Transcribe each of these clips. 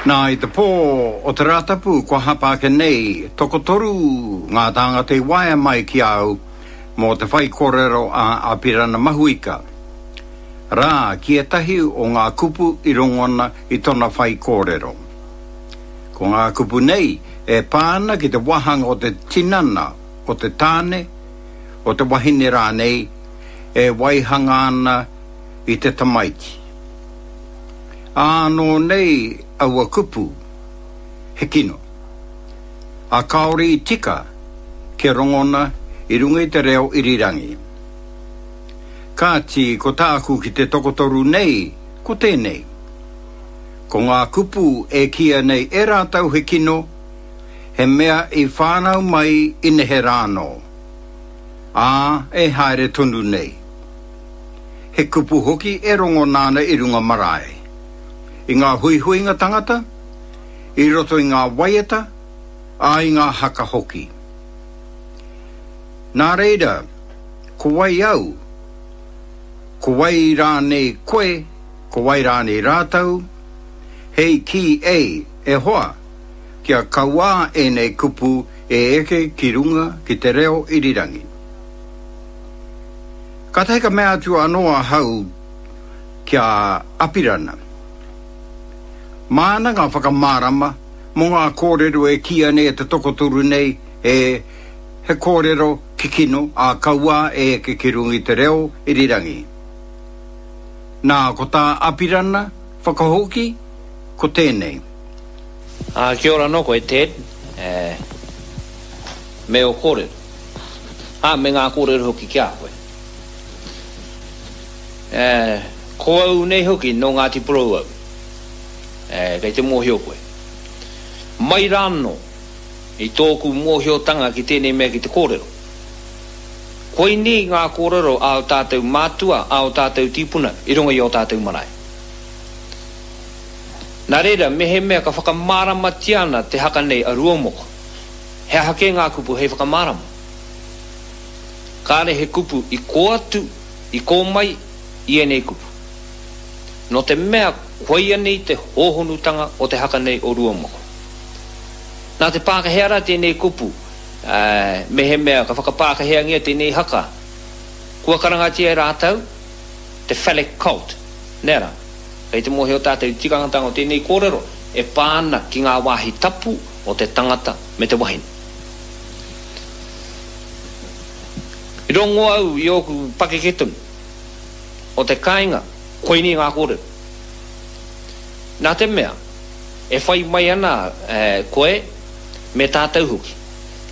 Nā, i te pō o te Rātapu kua hapa ake nei, tokotoru ngā tāngata i waea mai ki a au mō te whaikōrero a Apirana Mahuika. Rā, ki ētahi o ngā kupu i rongona i tona whaikōrero. Ko ngā kupu nei e pā ana ki te wāhanga o te tinana o te tāne, o te wahine rānei, e waihanga ana i te tamaiti. Ānō nei aua kupu, he kino, ā, kāore i tika kia rongona i runga i te reo irirangi. Kāti, ko tāku ki te tokotoru nei, ko tēnei. Ko ngā kupu e kīia nei e rātou he kino, he mea i whānau mai i neherā anō, ā, e haere tonu nei. He kupu hoki e rongona ana i runga marae, i ngā huihuinga tangata, i roto i ngā waiata, ā, i ngā haka hoki. Nā reira, ko wai au, ko wai rānei koe, ko wai rānei rātou, hei kī ei, e hoa, kia kauā ēnei kupu e eke ki runga ki te reo irirangi. Kātahi ka mea atu anō ahau ki a Apirana, Māna ngā whakamārama mō ngā kōrero e kīia nei e te tokotoru nei e he kōrero kikino ā kauā e eke ki runga i te reo irirangi. Nā, ko tā Apirana whakahoki, ko tēnei. Ā, kia ora anō koe, Ted, me ō kōrero. Ā, me ngā kōrero hoki ki a koe. Ē, ko au nei hoki nō Ngāti Porou au. Ē, kei te mōhio koe. Mai rānō i tōku mōhiotanga ki tēnei mea ki te kōrero. Koinei ngā kōrero a ō tātou mātua, a ō tātou tīpuna i runga i ō tātou marae. Nā reira, mehemea ka whakamāramatia ana te haka nei a Ruaumoko, He aha kē ngā kupu hei whakamārama? Kāre he kupu i kō atu, i kō mai i ēnei kupu. Nō te mea koia nei te hōhonutanga o te haka nei o Ruamoko. Nā te Pākehā rā tēnei kupu, ā, mehemea ka whakapākehāngia tēnei haka, kua karangatia e rātou te phallic cult, nē rā? Kei te mōhio tātou i te tikangatanga o tēnei kōrero e pā ana ki ngā wāhi tapu o te tangata me te wahine. I rongo au i ōku pakeke tonu o te kāinga, koinei ngā kōrero. Nā te mea, e whai mai ana koe me tātou hoki,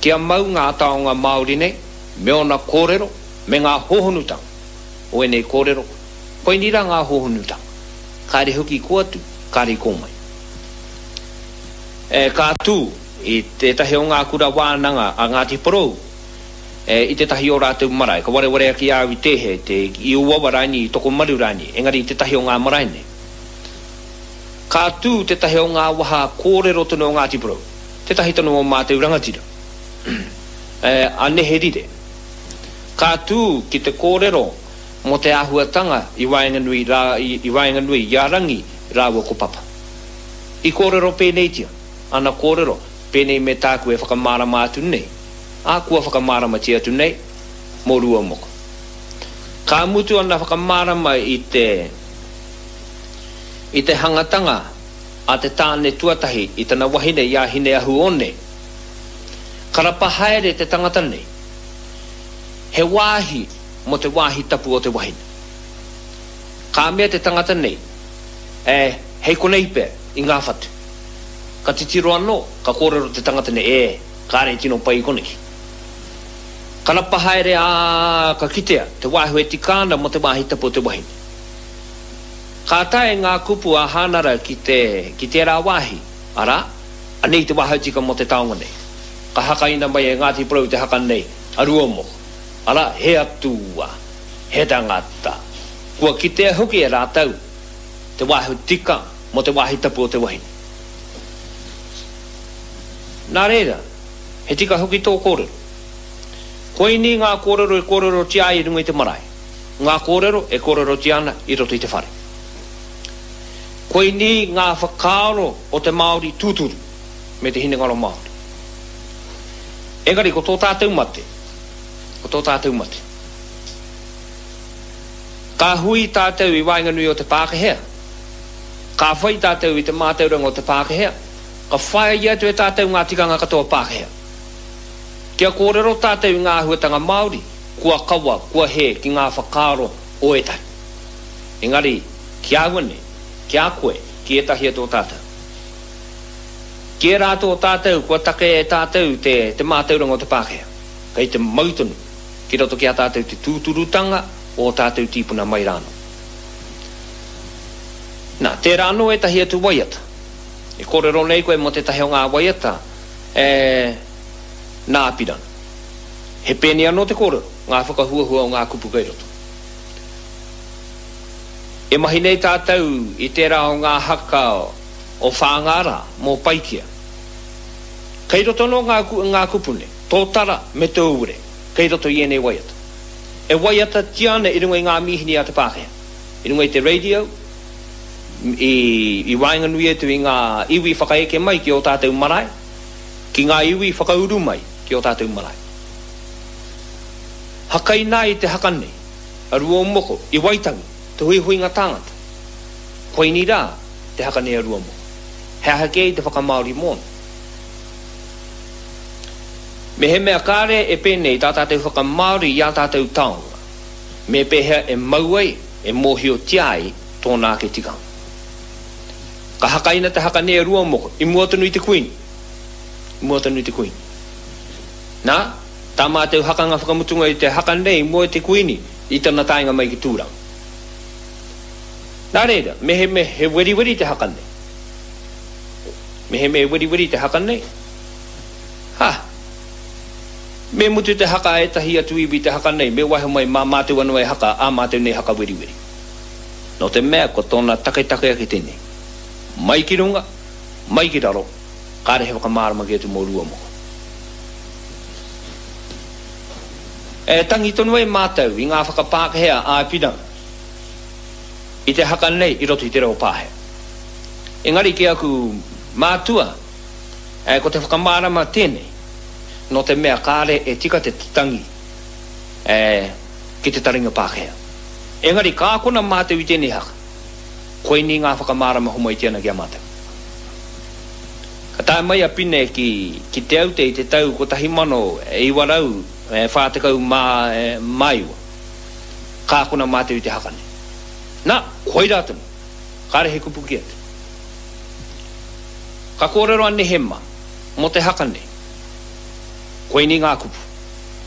kia mau ngā taonga Māori nei me ōna kōrero me ngā hōhonutanga o ēnei kōrero, koinei rā ngā hōhonutanga, kāre hoki i kō atu, kāre i kō mai. E, ka tū i tētahi o ngā kura wānanga a Ngāti Porou, e, i tētahi o rātou marae, ka wareware ake i a au i tēhea, i te, i Uawa rānei, i Tokomaru rānei, engari i tētahi o ngā marae nei. Ka tū tētahi o ngā waha kōrero tonu o Ngāti Porou, tētahi tonu o mātou rangatira, e, a Neherire. Ka tū ki te kōrero mō te āhuatanga i waenganui rā, i, i waenganui i a Rangi rāua ko Papa. I kōrero pēneitia ana kōrero pēnei me tāku e whakamārama atu nei, ā, kua whakamāramatia atu nei mō Ruaumoko. Ka mutu ana whakamārama i te, i te hangatanga a te tāne tuatahi i tana wahine i a Hine-ahu-one, ka rapa haere te tangata nei, he wāhi mō te wāhi tapu o te wahine. Ka mea te tangata nei, E, hei konei pea, i ngā whatu. Ka titiro anō, ka kōrero te tangata nei, E, kāre e tino pai i koneki. Ka rapa haere, ā, ka kitea te wāhi e tika ana mō te wāhi tapu o te wahine. Ka tae ngā kupu a Hānara ki te, ki tērā wāhi, arā, anei te wāhau tika mō te taonga nei. Ka hakaina mai e Ngāti Porou te haka nei, a Ruaumoko, arā, he atua, he tangata. Kua kitea hoki e rātou te wāhi tika mō te wāhi tapu o te wahine. Nā reira, he tika hoki tō kōrero. Koinī ngā kōrero e kōrerotia ai i runga i te marae, ngā kōrero e kōrerotia ana i roto i te whare. Koinī ngā whakaaro o te Māori tūturu me te hinengaro Māori. Engari ko tō tātou mate, ko tō tātou mate. Ka hui tātou i waenganui o te Pākehea, ka whai tātou i te mātauranga o te Pākehea, ka whāia atu e tātou ngā tikanga katoa Pākehea. Kia kōrero tātou i ngā āhuatanga Māori, kua kawa, kua hē ki ngā whakaaro o ētahi. Engari, ki a au nei, ki a koe, ki ētahi atu o tātou. Ki ērā atu o tātou kua takea e tātou te, te mātauranga o te Pākehā, kei te mau tonu ki roto ki a tātou te tūturutanga o ō tātou tīpuna mai rānō. Nā, tērā anō ētahi atu waiata. E kōrero nei koe mō tētahi o ngā waiata, e, nā Apirana. He pēnei anō te kōrero, ngā whakahuahua o ngā kupu kei roto. E mahi nei tātou i tērā o ngā haka o Whāngārā mō Paikea. Kei roto anō ngā, ngā kupu nei, tōtara me te ure, kei roto i ēnei waiata. E waiatatia ana i runga i ngā mīhini a te Pākehā, i runga i te radio, i, i waenganui atu i ngā iwi whakaeke mai ki ō tātou marae, ki ngā iwi whakauru mai ki ō tātou marae. Hakaina ai te haka nei, a Ruaumoko, i Waitangi, te huihuinga tāngata. Koinī rā te haka nei a Ruaumoko. He aha kē i te whakamāori mōna? Mehemea kāre e pēnei tā tātou whakamāori i ā tātou taonga, me pēhea e mau ai, e mōhiotia ai tōna ake tikanga? Ka hakaina te haka nei a Ruaumoko i mua tonu i te Kuini. I mua tonu i te Kuini. Nā, tā mātou hakanga whakamutunga i te haka nei i mua i te Kuini i tana taenga mai ki Tūranga. Nā reira, mehemea he weriweri te haka nei, mehemea he weriweri te haka nei, ha! Me mutu te haka a ētahi atu iwi te haka nei, me waiho mai mā mātou anō e haka ā mātou nei haka weriweri. Nō te mea ko tōna taketake ake tēnei. Mai ki runga, mai ki raro, kāre he whakamārama ki atu mō Ruamoko. E tangi tonu ai mātou i ngā whakapākehea a Apirana i te haka nei i roto i te reo Pāhea. Engari ki aku mātua, ko te whakamārama tēnei, nō te mea kāre e tika te tangi ki te taringa Pākehā. Engari ka akona mātou i tēnei haka, koinei ngā whakamārama homaitia ana ki a mātou. Ka tae mai a Pine ki Te Aute i te tau 1949. Ka akona mātou i te haka nei. Na, koirā tonu. Kāre he kupu ki atu. Ka kōrero a Nehema mō te haka nei. Koinei ngā kupu.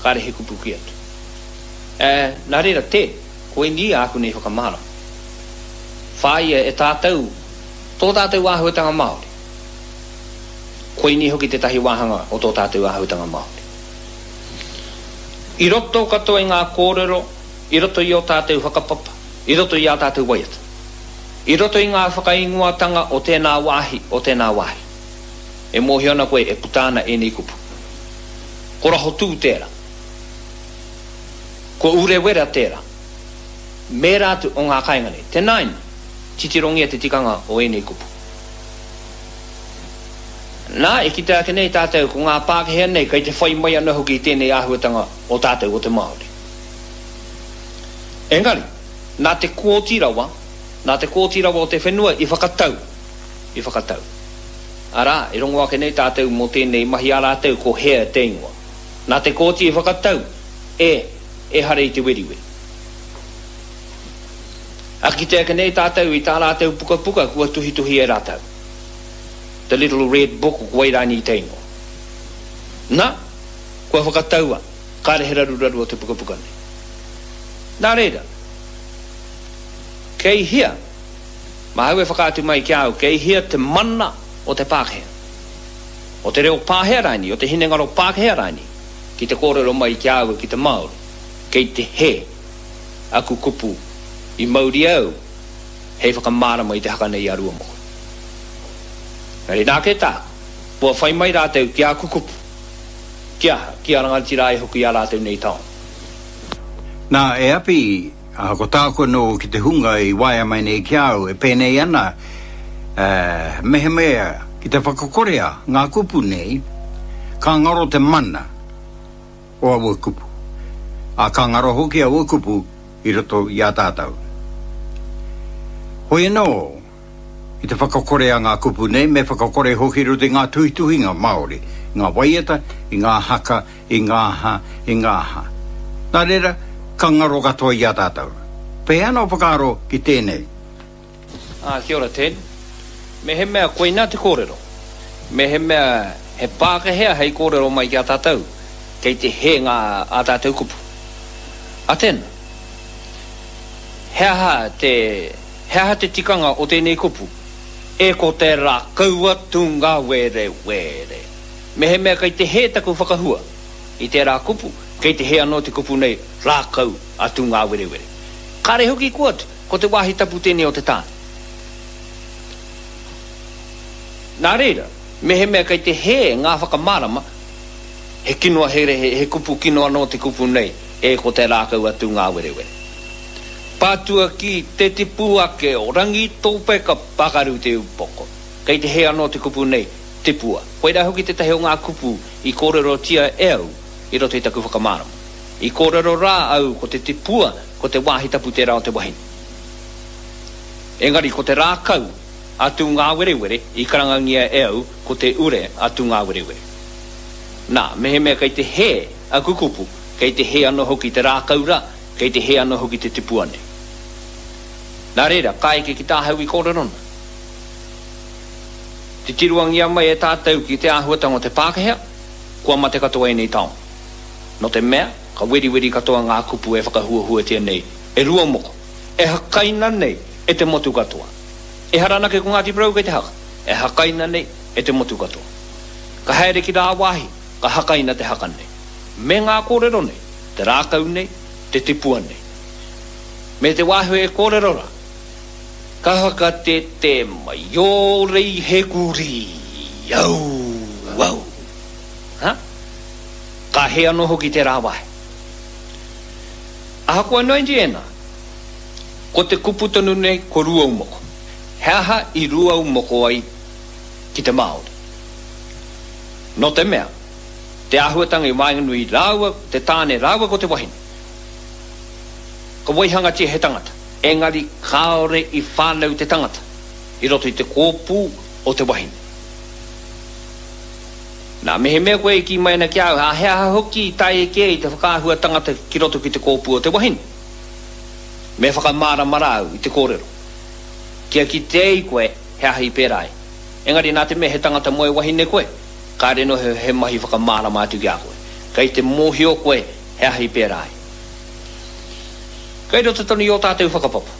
Kāre he kupu ki atu. Ē, nā reira, tē, koinī āku nei whakamārama. Whāia e tātou tō tātou āhuatanga Māori. Koinī hoki tētahi wāhanga o tō tātou āhuatanga Māori. I roto katoa i ngā kōrero, i roto i ō tātou whakapapa, i roto i ā tātou waiata. I roto i ngā whakaingoatanga o tēnā wāhi, o tēnā wāhi. E mōhio ana koe e puta ana ēnei kupu. Ko Rahotū tērā. Ko Urewera tērā. Mēra atu o ngā kāinga nei. Tēnā ina, titirongia te tikanga o ēnei kupu. Nā, e kitea ake nei tātou ko ngā Pākehā nei kei te whai mai ana hoki i tēnei āhuatanga o tātou o te Māori. Engari, nā te kōti rawa, nā te kōti rawa o te whenua i whakatau, i whakatau. Arā, e rongo ake nei tātou mō tēnei mahi a rātou ko hea te ingoa. Nā te kōti i whakatau, e, ehara i te weriweri. A kite ake nei tātou i tā rātou pukapuka kua tuhituhi e rātou. The Little Red Book ko wai rānei te ingoa. Na, kua whakataua, kāre he raruraru o te pukapuka nei. Nā reira, kei hea, māu e whakaatu mai ki a au, kei hea te mana o te Pākehā, o te reo Pāhea rānei, o te hinengaro Pākehā rānei, ki te kōrero mai ki a au ki te Māori, kei te hē aku kupu i mauria au hei whakamārama i te haka nei a Ruamoko. Engari nā kē tāku, kua whai mai rātou ki āku kupu, ki aha, ki a rangatira ai hoki ā rātou nei taonga. Nā, e Api, ko tāku anō ki te hunga i waea mai nei ki a au, e pēnei ana, Mehemea ki te whakakorea ngā kupu nei, ka ngaro te mana o aua kupu, ā, ka ngaro hoki aua kupu i roto i a tātou. Hoi anō, ki te whakakorea ngā kupu nei, me whakakore hoki i roto i ngā tuhituhinga Māori, i ngā waiata, i ngā haka, i ngā aha, i ngā aha. Nā reira, ka ngaro katoa i a tātou. Pēhea ana ō whakaaro ki tēnei? Ā, kia ora Ted. Mehemea koinā te kōrero, mehemea he Pākehea hei kōrero mai ki a tātou, kei te hē ngā ā tātou kupu. A tēnā. He aha te, he aha te tikanga o tēnei kupu? E ko te rākau a Tūngāwerewere. Mehemea kei te hē taku whakahua i tērā kupu, kei te hē anō te kupu nei rākau a Tūngāwerewere. Kāre hoki kua atu. Ko te wāhi tapu tēnei o te tāne. Nā reira, mehemea kei te hē ngā whakamārama, he kino he, he kupu kino anō te kupu nei, e ko te rākau a Tūngāwerewere. Pātua ki te tipu ake o Rangitope ka pakaru te upoko. Kei te hē anō te kupu nei, tipua. Koirā hoki tētahi o ngā kupu i kōrerotia e au i roto i taku whakamārama. I kōrero rā au ko te tipua ko te wāhi tapu tērā o te wahine. Engari ko te rākau a Tūngāwerewere i karangangia e au ko te ure a Tūngāwerewere. Nā, mehemea kei te hē aku kupu, kei te hē anō hoki te rākau rā, kei te hē anō hoki te tipua nei. Nā reira, ka eke ki tāhau i kōrero nā. Titiroangia mai e tātou ki te āhuatanga o te Pākehā, kua mate katoa ēnei taonga. Nō te mea, ka weriweri katoa ngā kupu e whakahuahuatia nei e Ruamoko, e hakaina nei e te motu katoa. Ehara anake ko Ngāti Porou kei te haka, e hakaina nei e te motu katoa. Ka haere ki rāwāhi, ka hakaina te haka nei. Me ngā kōrero nei, te rākau nei, te tipua nei. Me te wāhi e kōrero rā, ka whakatetē mai ō rei he kurī, au, au. Ha? Ka hē anō hoki tērā wāhi. Ahakoa noa iti ēnā, ko te kupu tonu nei ko Rūaumoko. He aha i Rūaumoko ai ki te Māori? Nō te mea, te āhuatanga i waenganui rāua, te tāne rāua ko te wahine, ka waihangatia he tangata, engari kāore i whānau te tangata i roto i te kōpū o te wahine. Nā, mehemea koe e kī mai ana ki a au, ā, he aha hoki i tae kē i te whakaahua tangata ki roto ki te kōpū o te wahine? Me whakamārama rā au i te kōrero, kia kite ai koe he aha i pērā ai. Engari nā te mea he tangata moe wahine koe, kāre noa he mahi whakamārama atu ki a koe. Kei te mōhio koe he aha i pērā ai. Kei roto tonu i ō tātou whakapapa,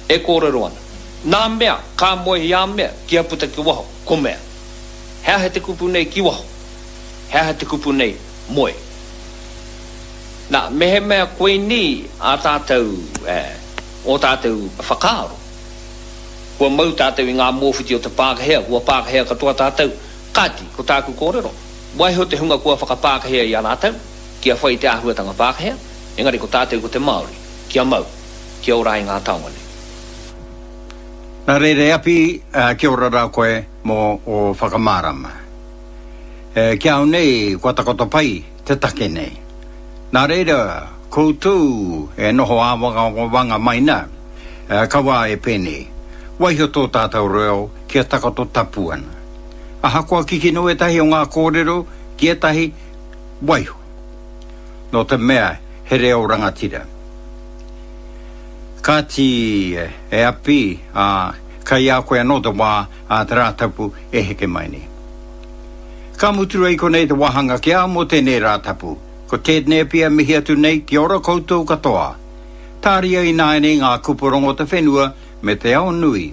e kōrero ana, nā mea ka moe i a mea kia puta ki waho, ko mea. He aha te kupu nei ki waho? He aha te kupu nei moe? Nā, mehemea koinī ā tātou, ō tātou whakaaro, kua mau tātou i ngā mōwhiti o te Pākehea, kua Pākehea katoa tātou, kāti, ko tāku kōrero, waiho te hunga kua whakapākehea i a rātou, kia whai i te āhuatanga Pākehea, engari ko tātou ko te Māori, kia mau, kia ora ai ngā taonga nei. Nā reira e Api, kia ora rā koe mō ō whakamārama. Ki a au nei, kua takoto pai te take nei. Nā reira, koutou e noho āwangawanga mai nā, kaua e pēnei. Waiho tō tātou reo kia takoto tapu ana. Ahakoa kikino ētahi o ngā kōrero ki ētahi, waiho. Nō te mea he reo rangatira. Kāti, e Api, ā, kai a koe anō te wā ā te Rātapu e heke mai nei. Ka mutu ai konei te wāhanga ki a au mō tēnei Rātapu. Ko Ted Nēpia mihi atu nei kia ora koutou katoa. Tāria ināianei ngā kupu rongo te whenua me te ao nui.